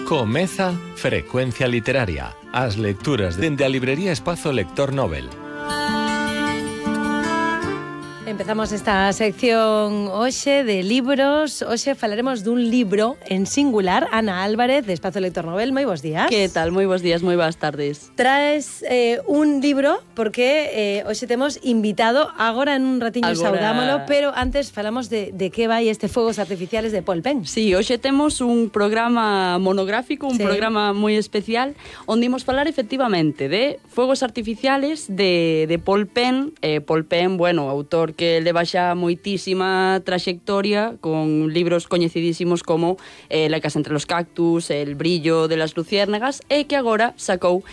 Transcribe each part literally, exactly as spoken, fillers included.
Comeza Frecuencia Literaria, as lecturas dende a librería Espazo Lector Nobel. Empezamos esta sección hoxe de libros. Hoxe falaremos dun libro en singular. Ana Álvarez, de Espazo Lector Nobel, moi bons días. Que tal? Moi bons días, moi boas tardes. Traes eh, un libro porque eh, hoxe temos invitado. Agora en un ratiño Agora... saudámolo, pero antes falamos de, de que vai este Fogos Artificiales de Paul Penn. Sí, hoxe temos un programa monográfico, un sí. programa moi especial, onde imos falar efectivamente de Fogos Artificiales de, de Paul Penn. Eh, Paul Penn, bueno, autor que leva xa moitísima traxectoria con libros coñecidísimos como eh, La casa entre los cactus, El brillo de las luciérnagas, e que agora sacou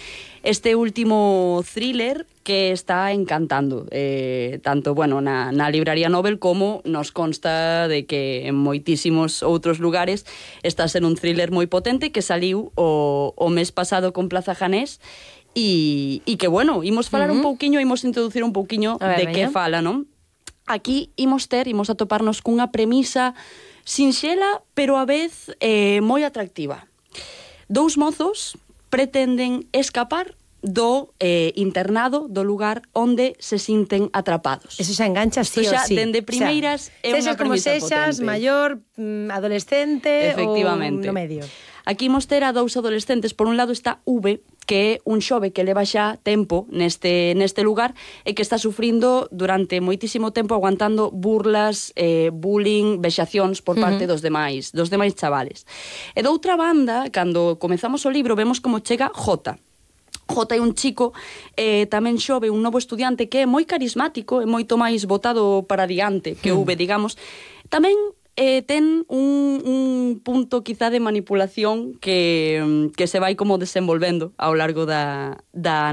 este último thriller que está encantando eh, tanto bueno, na, na libraría Nobel como nos consta de que en moitísimos outros lugares está a ser un thriller moi potente que saliu o, o mes pasado con Plaza Janés. E, e que, bueno, imos falar uh-huh. un pouquiño, imos introducir un pouquiño ver, de que fala, non? Aquí imos ter, imos atoparnos cunha premisa sinxela, pero a vez eh, moi atractiva. Dous mozos pretenden escapar do eh, internado, do lugar onde se sinten atrapados. Eso xa engancha sí o xa, sí. Dende primeiras o sea, é unha premisa como sexas, potente. maior, adolescente ou no medio. Aquí imos ter a dous adolescentes. Por un lado está V, que é un xove que leva xa tempo neste, neste lugar e que está sufrindo durante moitísimo tempo aguantando burlas, eh, bullying, vexacións por parte uh-huh. dos demais, dos demais chavales. E doutra banda, cando comezamos o libro, vemos como chega J. J é un chico eh, tamén xove, un novo estudiante que é moi carismático e moito máis botado para diante que V, digamos. Tamén Eh, ten un, un punto quizá de manipulación que, que se vai como desenvolvendo ao largo da, da